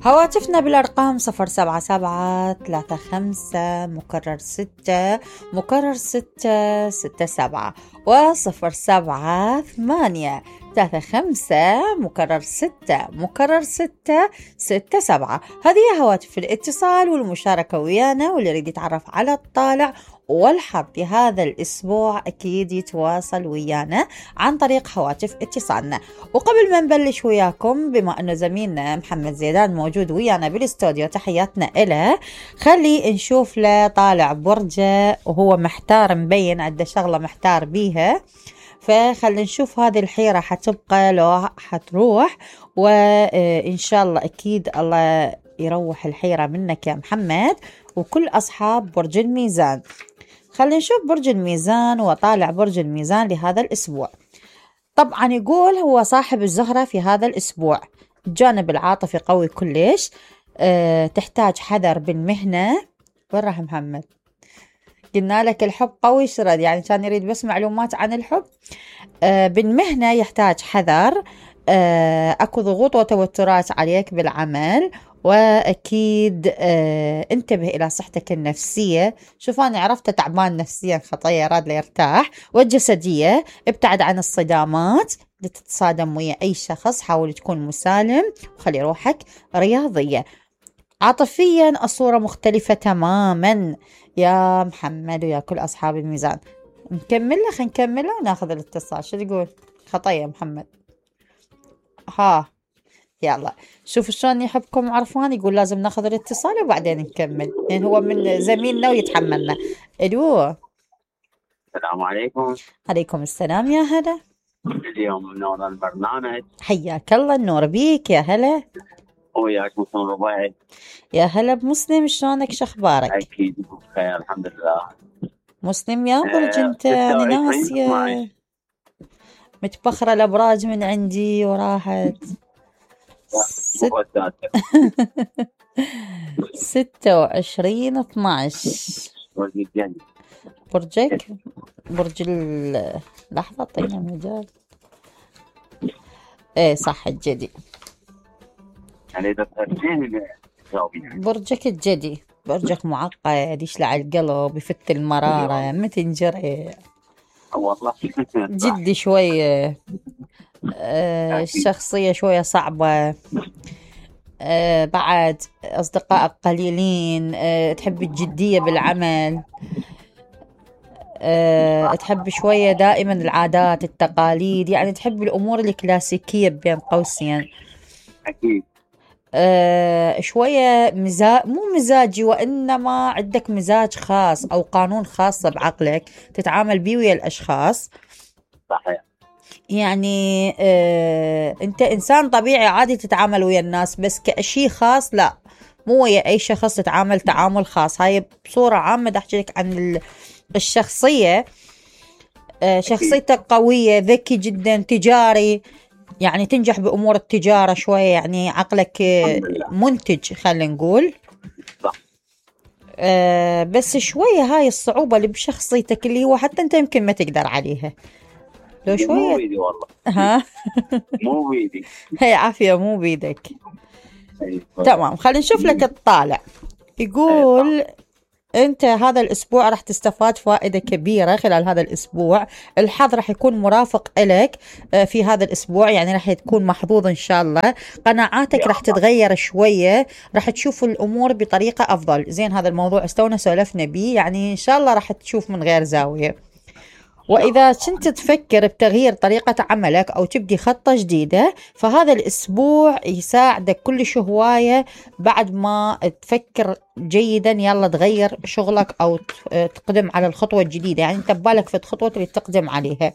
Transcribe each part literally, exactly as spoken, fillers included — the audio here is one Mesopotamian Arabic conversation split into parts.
هواتفنا بالأرقام صفر سبعة سبعة ثلاثة خمسة مكرر ستة مكرر ستة ستة سبعة وصفر سبعة ثمانية ثلاثة خمسة مكرر ستة مكرر ستة ستة سبعة. هذه هواتف الاتصال والمشاركة ويانا، واللي يريد يتعرف على الطالع والحظ بهذا الأسبوع أكيد يتواصل ويانا عن طريق هواتف اتصالنا. وقبل ما نبلش وياكم، بما أنه زميلنا محمد زيدان موجود ويانا بالاستوديو، تحياتنا إله، خلي نشوف له طالع برجة وهو محتار، مبين عنده شغلة محتار بيها، فخلي نشوف هذه الحيرة حتبقى لو حتروح، وإن شاء الله أكيد الله يروح الحيرة منك يا محمد وكل أصحاب برج الميزان. خلينا نشوف برج الميزان وطالع برج الميزان لهذا الأسبوع. طبعا يقول هو صاحب الزهرة في هذا الأسبوع، الجانب العاطفي قوي كلش، أه تحتاج حذر بالمهنة. وين راح محمد؟ قلنا لك الحب قوي شرد، يعني كان يريد بس معلومات عن الحب. أه بالمهنة يحتاج حذر، أه أكو ضغوط وتوترات عليك بالعمل، وأكيد آه انتبه إلى صحتك النفسية. شوف أنا عرفت تعبان نفسيا، خطية راد ليرتاح. والجسدية ابتعد عن الصدامات، تتصادم ويا أي شخص حاول تكون مسالم وخلي روحك رياضية. عاطفيا الصورة مختلفة تماما يا محمد ويا كل أصحاب الميزان. نكمل له خلينا نكمل له وناخذ الاتصال. شو تقول خطية محمد؟ ها يلا شوف شلون يحبكم عرفان، يقول لازم ناخذ الاتصال وبعدين نكمل، يعني هو من زميلنا ويتحملنا. الو السلام عليكم. عليكم السلام يا هلا. اليوم منور البرنامج. حياك الله، النور بيك يا هلا. وياك مسلم ربيعي. يا هلا بمسلم، شلونك شخبارك؟ اكيد بخير الحمد لله. مسلم يا برج انت، يعني ناسية متبخرة الابراج من عندي وراحت. ست... ستة وعشرين اثناش. برجك برج ال لحظة طينا مجال. ايه صح الجدي. يعني برجك الجدي، برجك معقد، يشلع القلب، يفت المرارة، متنجري والله جدي شوية. آه الشخصية شوية صعبة. آه بعد أصدقائك قليلين. آه تحب الجدية بالعمل. آه تحب شوية دائما العادات التقاليد، يعني تحب الأمور الكلاسيكية بين قوسين. أكيد. آه شوية مزاج، مو مزاجي، وإنما عندك مزاج خاص أو قانون خاص بعقلك تتعامل بيه ويا الأشخاص. صحيح. يعني آه أنت إنسان طبيعي عادي تتعامل ويا الناس، بس كأشي خاص لا، مو ويا أي شخص تتعامل تعامل خاص. هاي بصورة عامة دا أحكي لك عن الشخصية. آه شخصيتك قوية، ذكي جدا، تجاري، يعني تنجح بأمور التجارة شوية، يعني عقلك منتج خلينا نقول. صح. آه بس شوية هاي الصعوبة اللي بشخصيتك، اللي هو حتى أنت يمكن ما تقدر عليها لو شوية. مو بيدي والله. ها مو بيدي. هي عافية مو بيدك. تمام، خلينا نشوف لك الطالع. يقول أنت هذا الأسبوع راح تستفاد فائدة كبيرة خلال هذا الأسبوع. الحظ راح يكون مرافق إلك في هذا الأسبوع، يعني راح تكون محظوظ إن شاء الله. قناعاتك راح تتغير شوية، راح تشوف الأمور بطريقة أفضل. زين هذا الموضوع استونا سولفنا بيه، يعني إن شاء الله راح تشوف من غير زاوية. وإذا كنت تفكر بتغيير طريقة عملك أو تبدي خطة جديدة، فهذا الأسبوع يساعدك كل هواية. بعد ما تفكر جيدا يلا تغير شغلك أو تقدم على الخطوة الجديدة، يعني أنت ببالك في الخطوة اللي تقدم عليها.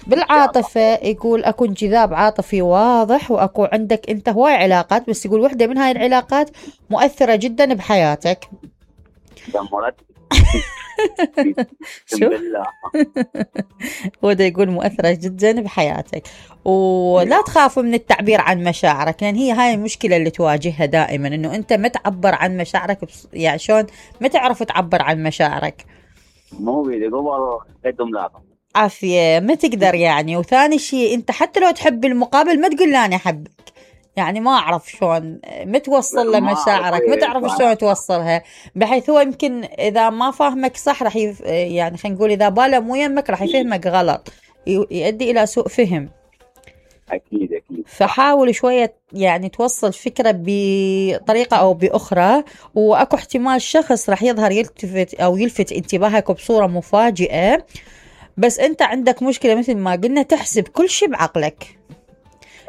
بالعاطفة يقول أكو انجذاب عاطفي واضح، وأكو عندك أنت هواي علاقات، بس يقول واحدة من هاي العلاقات مؤثرة جدا بحياتك. شو هو ده يقول مؤثرة جدا بحياتك. ولا تخاف من التعبير عن مشاعرك، لأن يعني هي هاي المشكلة اللي تواجهها دائما، إنه أنت ما تعبر عن مشاعرك. يعني شلون ما تعرف تعبر عن مشاعرك؟ مو بيدي قبل قدم لا عافية ما تقدر يعني. وثاني شيء أنت حتى لو تحب المقابل ما تقول لا أنا أحبك، يعني ما أعرف شلون متوصل ما لمشاعرك، ما أعرف تعرف إيه. شلون توصلها، بحيث هو يمكن إذا ما فاهمك صح راح يف... يعني خلينا نقول إذا باله مو يمك راح يفهمك غلط، ي- يؤدي إلى سوء فهم. اكيد اكيد. فحاول شوية يعني توصل فكرة بطريقة أو بأخرى، وأكو احتمال شخص راح يظهر يلتفت أو يلفت انتباهك بصورة مفاجئة، بس أنت عندك مشكلة مثل ما قلنا تحسب كل شيء بعقلك.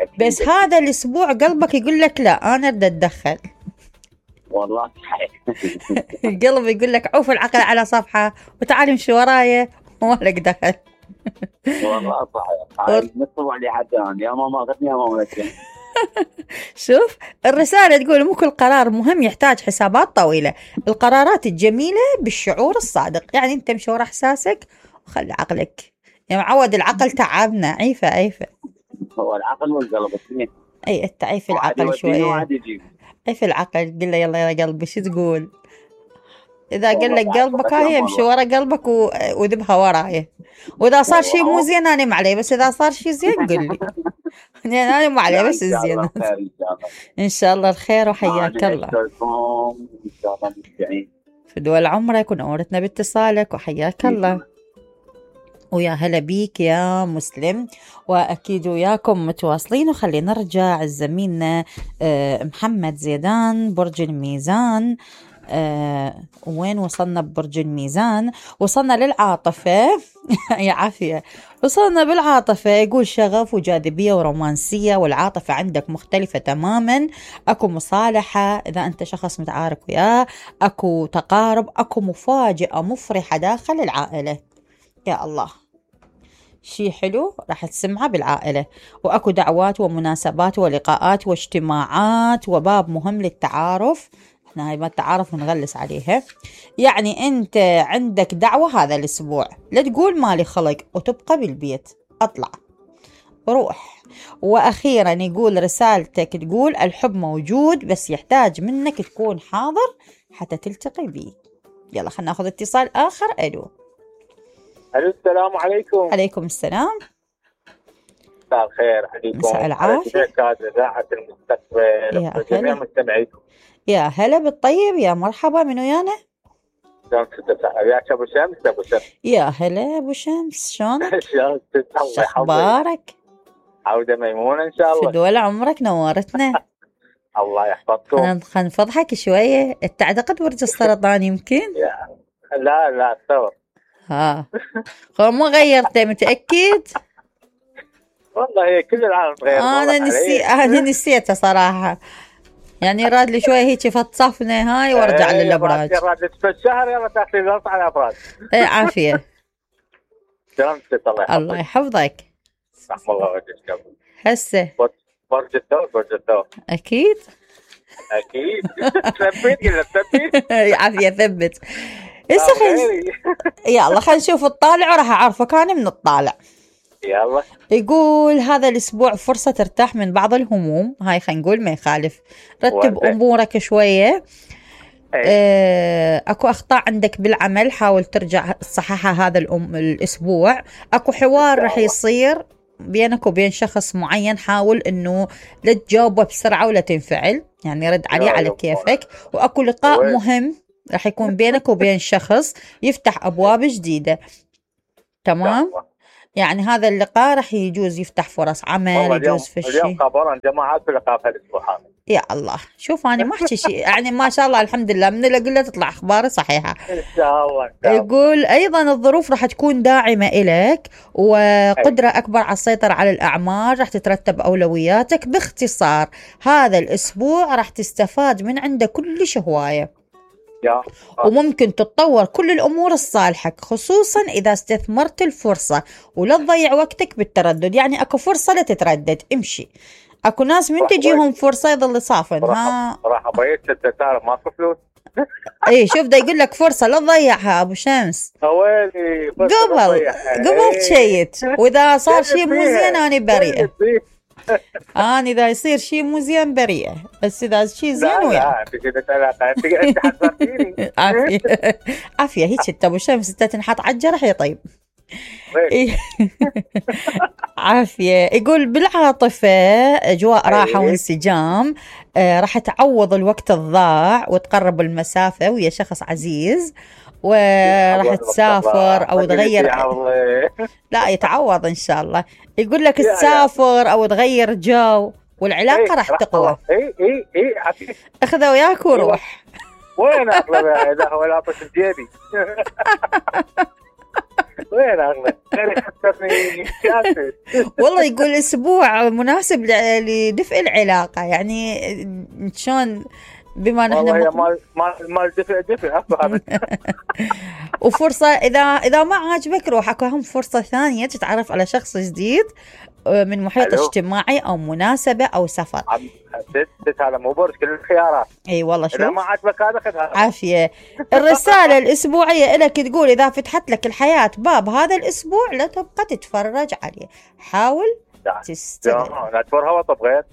أكيد بس أكيد. هذا الأسبوع قلبك يقول لك لا أنا بدي أتدخل. والله صحيح. القلب يقول لك عوف العقل على صفحة وتعال امشي ورايا وما لك دخل. والله صحيح. هاي نصب علي حتى أنا، يا ماما غتني يا ماما غتني. شوف الرسالة تقول مو كل قرار مهم يحتاج حسابات طويلة، القرارات الجميلة بالشعور الصادق. يعني انت امشي ورا احساسك وخلي عقلك، يعني معود العقل تعبنا، عيفة عيفة. هو العقل والقلب اثنين. اي انت عيف واحد العقل يوديني شوية، وواحد يجيب. عيف العقل، قل له يلا يا قلبي شو تقول. اذا قال والله لك بعد قلبك فقط هاي يا امشي مرة. ورا قلبك و- وذبها وراي، واذا صار شيء مو والله. زين انا ما علي، بس اذا صار شيء زين قل لي. يعني انا ما علي لا بس ان شاء الزين. الله خير ان شاء الله. ان شاء الله الخير وحياك انا الله. اشكركم ان شاء الله مستعين. في دول عمرك ونورتنا باتصالك وحياك الله. ويا هلا بيك يا مسلم، وأكيد وياكم متواصلين. وخلينا نرجع زميلنا آه، محمد زيدان برج الميزان. آه، وين وصلنا ببرج الميزان؟ وصلنا للعاطفة. يا عافية، وصلنا بالعاطفة. يقول شغف وجاذبية ورومانسية، والعاطفة عندك مختلفة تماما. أكو مصالحة إذا أنت شخص متعارك وياه، أكو تقارب، أكو مفاجأة مفرحة داخل العائلة. يا الله شي حلو راح تسمعه بالعائلة، وأكو دعوات ومناسبات ولقاءات واجتماعات وباب مهم للتعارف. احنا هاي ما التعارف نغلس عليها. يعني انت عندك دعوة هذا الاسبوع، لا تقول مالي خلق وتبقى بالبيت، اطلع روح. واخيرا يقول رسالتك تقول الحب موجود بس يحتاج منك تكون حاضر حتى تلتقي بيه. يلا خلنا ناخذ اتصال اخر. الو. الو السلام عليكم. عليكم السلام. مساء الخير عليكم. مساء العافية. على جميع إذاعة المستقبل يا وجميع هلا. مستمعيكم. يا هلا بالطيب، يا مرحبا، من ويانا؟ شلون ستة وياك ابو شمس؟ ابو شمس. يا هلا ابو شمس، شلونك؟ شلون ستة؟ الله يحفظك. شخبارك؟ عودة ميمونة ان شاء في الله. دول عمرك نورتنا. الله يحفظكم. خلينا نفضحك شوية، تعتقد برج السرطان يمكن؟ يا. لا لا الثور. ها هو مو غيرته متأكد؟ والله هي كل العالم تغير. انا نسي انا نسيته صراحة، يعني راد لي شوية هيك فتصفنا هاي وارجع ايه للابراج. راد في الشهر يلا تاخذي ظرف على الابراج. ايه عافية. شلون ستة؟ الله يحفظك. الله يحفظك. رحم الله وجهك قبل. هسه برج الثور. برج الثور اكيد. اكيد. ثبت كذا ثبت. عافية ثبت. هسه خل... يلا خلينا نشوف الطالع وراح اعرفك انا من الطالع. يلا. يقول هذا الاسبوع فرصة ترتاح من بعض الهموم، هاي خلينا نقول ما يخالف، رتب وانت. امورك شوية. أي. آه، اكو اخطاء عندك بالعمل حاول ترجع تصححها هذا الأم الاسبوع. اكو حوار راح يصير بينك وبين شخص معين، حاول انه لا تجاوبه بسرعة ولا تنفعل، يعني رد عليه يا على يما. كيفك. واكو لقاء وين؟ مهم راح يكون بينك وبين شخص يفتح ابواب جديدة. تمام. دعوة. يعني هذا اللقاء راح يجوز يفتح فرص عمل، والله اليوم يجوز في اليوم الشيء. خبرا جماعات في لقاء في الاسبوع هذا. يا الله شوف انا ما احكي شيء، يعني ما شاء الله الحمد لله من اللي اقول له تطلع اخباري صحيحه. ان شاء الله. إن شاء الله. يقول ايضا الظروف راح تكون داعمه الك، وقدره اكبر على السيطره على الاعمال، راح تترتب اولوياتك. باختصار هذا الاسبوع راح تستفاد من عنده كلش هوايه، يا. وممكن تتطور كل الأمور الصالحة، خصوصا إذا استثمرت الفرصة ولا تضيع وقتك بالتردد. يعني أكو فرصة لا تتردد، امشي. أكو ناس من تجيهم فرصة يظل صافن. ها راح ابيت ستة تعرف ماكو فلوس. اي شوف دا يقول لك فرصة لا تضيعها أبو شمس. ويلي قبل قبل تشيت، وإذا صار شيء مو زين أنا بريئة. أنا إذا يصير شيء مو زين بريئة، بس إذا شيء زين وياك. لا انت كذا علاقة انت انت حذرتيني. عافية. عافية هيك انت أبو شمس انت تنحط على الجرح يا طيب. إيه. عافية. يقول بالعاطفة أجواء راحة وانسجام، آه راح تعوض الوقت الضاع وتقرب المسافة ويا شخص عزيز، وراح تسافر أو تغير. لا يتعوض إن شاء الله. يقول لك تسافر أو تغير جو والعلاقة راح تقوى. اي اي اي عافية. اخذه وياك وروح. وين اغلب اذا هو لا طش بجيبي. وين اغلب؟ والله يقول اسبوع مناسب لدفء العلاقة، يعني شلون بما نحن والله مال مال مال دفء دفء افهم. وفرصة إذا إذا ما عاجبك روح، أكو هم فرصة ثانية تتعرف على شخص جديد من محيط اجتماعي أو مناسبة أو سفر. ست هذا مو برج كل الخيارات. اي والله شوف. إذا ما عجبك هذا خذ هذا. عافية. الرسالة الأسبوعية لك تقول إذا فتحت لك الحياة باب هذا الأسبوع لا تبقى تتفرج عليه، حاول تستغل. لا تفرها وطبغيت.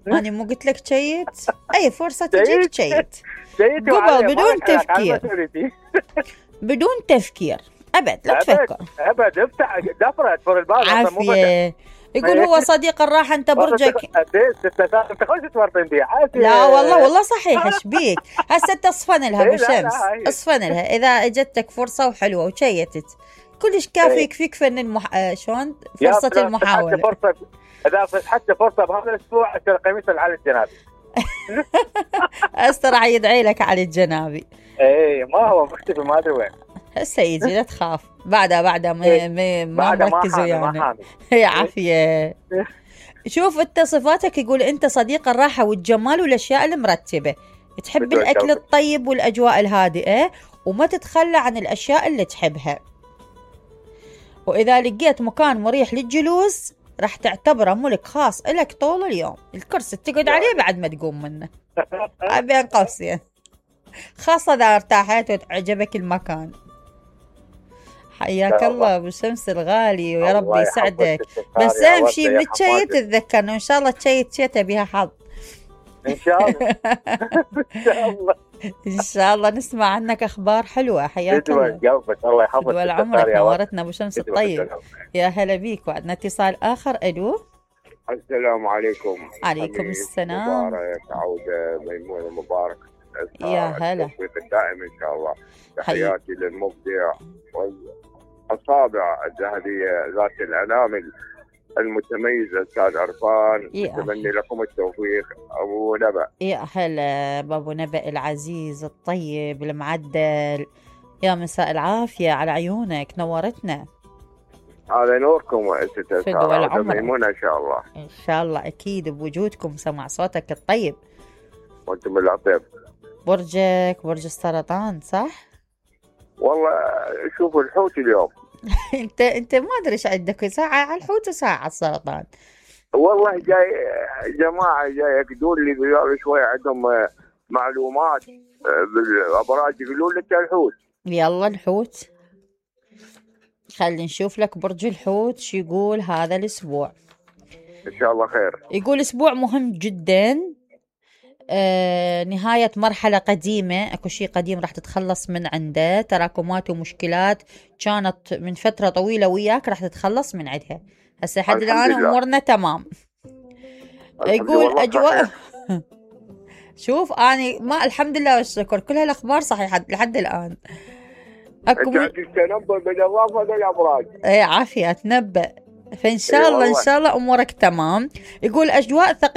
أنا مو قلت لك شيت؟ أي فرصة تجيك شيت. شيت قبل بدون تفكير. بدون تفكير أبد لا تفكر. أبد افتح دفرة تفر الباب. عافية. يقول هو صديق الراحة أنت برجك. لا والله والله صحيح. ايش بيك هسه تصفن لها بالشمس، اصفن لها إذا اجتك فرصة وحلوة وشيتت كلش كافي يكفيك فن المح... شلون فرصة المحاولة. فرصة إذا فتحت فرصة بهذا الأسبوع أشتري قميص على الجنابي. أستر يدعي لك على الجنابي. إيه ما هو مختفي ما أدري وين. هسه يجي لا تخاف. بعدها بعدها ما ما ما مركزوا يعني. هي عافية. شوف انت صفاتك، يقول انت صديق الراحة والجمال والاشياء المرتبة، تحب الاكل الطيب والاجواء الهادئة وما تتخلى عن الاشياء اللي تحبها، واذا لقيت مكان مريح للجلوس راح تعتبره ملك خاص لك طول اليوم، الكرسي تقعد عليه بعد ما تقوم منه. بين قوسين، خاصة اذا ارتاحت وعجبك المكان. حياك الله ابو شمس الغالي ويا رب يسعدك. بس اهم شيء من الشيء تتذكرنا وان شاء الله تشيت شيته بها حظ. ان شاء الله. ان شاء الله. ان شاء الله نسمع عنك اخبار حلوه. حياك الله. قلبك الله يحفظك. طول عمرك نورتنا ابو شمس الطيب. يا هلا بيك. وعندنا اتصال اخر. الو. السلام عليكم. عليكم السلام. مبارك عوده ميمونه مبارك. يا هلا. التوفيق الدائم ان شاء الله. تحياتي للمبدع والأصابع الذهبية ذات الأنامل المتميزة أستاذ عرفان. أتمنى لكم التوفيق أبو نبأ. يا هلا بابو نبأ العزيز الطيب المعدل. يا مساء العافية على عيونك، نورتنا. هذا نوركم ستة سارة ميمونة إن شاء الله. إن شاء الله أكيد بوجودكم. سمع صوتك الطيب. وأنتم العطيب. برجك برج السرطان صح؟ والله شوفوا الحوت اليوم. انت انت ما ادري ايش عندك، ساعه على الحوت وساعه على السرطان. والله جاي جماعه جاي يقولوا لي قبل شوي عندهم معلومات بالابراج يقولوا لك الحوت. يلا الحوت، خلينا نشوف لك برج الحوت شو يقول هذا الاسبوع. ان شاء الله خير. يقول اسبوع مهم جدا. آه، نهاية مرحلة قديمة، اكو شيء قديم راح تتخلص من عنده، تراكمات ومشكلات كانت من فترة طويلة وياك راح تتخلص من عندها. هسه لحد الآن أمورنا تمام. يقول أجواء. شوف أنا ما الحمد لله والشكر كل هالأخبار صحيحة لحد الآن. أكو م... تنبأ بالإضافة للأبراج. إيه عافية أتنبأ، فإن شاء الله إن شاء الله أمورك تمام. يقول أجواء ثقيلة